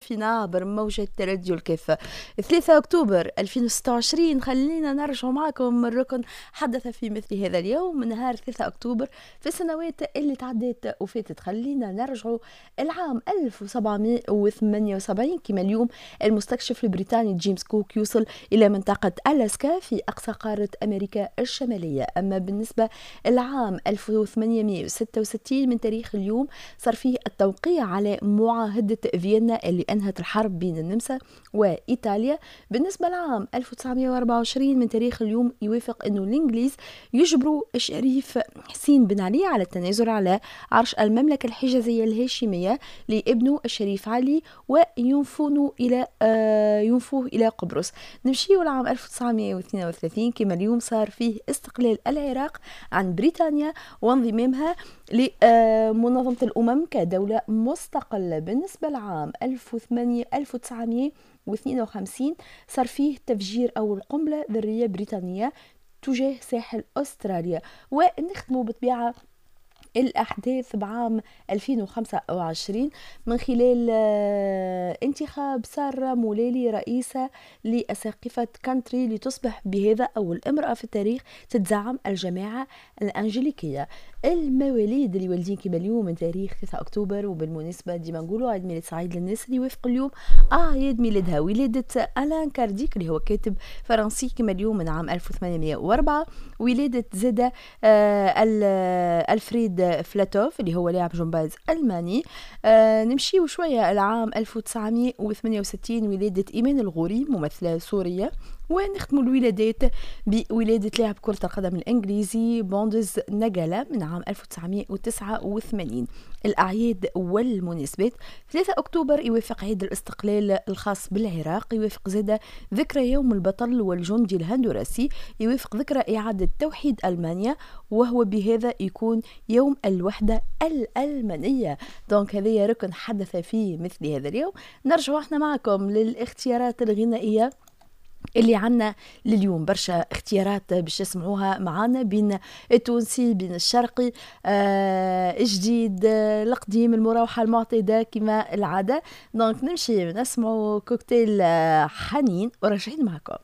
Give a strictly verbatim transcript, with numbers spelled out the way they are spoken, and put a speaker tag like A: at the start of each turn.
A: فينا عبر موجة راديو الكاف. ثلاثة أكتوبر ألفين وستة وعشرين، خلينا نرجع معكم الركن حدث في مثل هذا اليوم، نهار ثلاثة أكتوبر في السنوات اللي تعدت وفاتت. خلينا نرجع العام ألف وسبعمية وثمانية وسبعين كما اليوم، المستكشف البريطاني جيمس كوك يوصل إلى منطقة ألاسكا في أقصى قارة أمريكا الشمالية. أما بالنسبة العام ألف وثمانمية وستة وستين من تاريخ اليوم، صار فيه التوقيع على معاهدة فيينا اللي أنهت الحرب بين النمسا وإيطاليا. بالنسبة لعام ألف وتسعمية وأربعة وعشرين من تاريخ اليوم، يوافق أنه الإنجليز يجبروا الشريف حسين بن علي على التنازل على عرش المملكة الحجازية الهاشمية لابنه الشريف علي وينفونه إلى آه ينفوه إلى قبرص. نمشي لعام ألف وتسعمية واثنين وثلاثين كما اليوم، صار فيه استقلال العراق عن بريطانيا وانضمامها لمنظمة الأمم كدولة مستقلة. بالنسبة لعام ألف وتسعمية واثنين وخمسين، صار فيه تفجير أول قنبلة ذرية بريطانية تجاه ساحل أستراليا. ونختم بطبيعة الأحداث بعام ألفين وخمسة وعشرين من خلال آه، انتخاب سارة مولالي رئيسة لأساقفة كانتربري، لتصبح بهذا أول امرأة في التاريخ تتزعم الجماعة الأنجليكية. المواليد اللي والدين كما اليوم من تاريخ ثلاثة أكتوبر، وبالمناسبة ديما نقولوا عيد ميلاد سعيد للناس اللي يوافق اليوم أعياد ميلادها. ولادة ألان كارديك اللي هو كاتب فرنسي كما اليوم من عام ألف وثمانمية وأربعة. ولادة زادة آه ألفريد فلاتوف اللي هو لاعب جمباز ألماني. آه نمشيو شوية العام ألف وتسعمية وثمانية وستين، ولادة إيمان الغوري ممثلة سورية. ونختم الولادات بولادة لاعب كرة القدم الإنجليزي بوندز نجالا من عام ألف وتسعمية وتسعة وثمانين. الأعياد والمناسبات: ثلاثة أكتوبر يوافق عيد الاستقلال الخاص بالعراق، يوافق زادة ذكرى يوم البطل والجندي الهندوراسي، يوافق ذكرى إعادة توحيد ألمانيا وهو بهذا يكون يوم الوحدة الألمانية. donc هذا ركن حدث في مثل هذا اليوم. نرجع احنا معكم للاختيارات الغنائية اللي عنا لليوم، برشا اختيارات باش تسمعوها معانا بين التونسي، بين الشرقي، آه الجديد، آه القديم، المراوحة المعتادة كما العادة. donc نمشي نسمعوا كوكتيل آه حنين وراجعين معكم.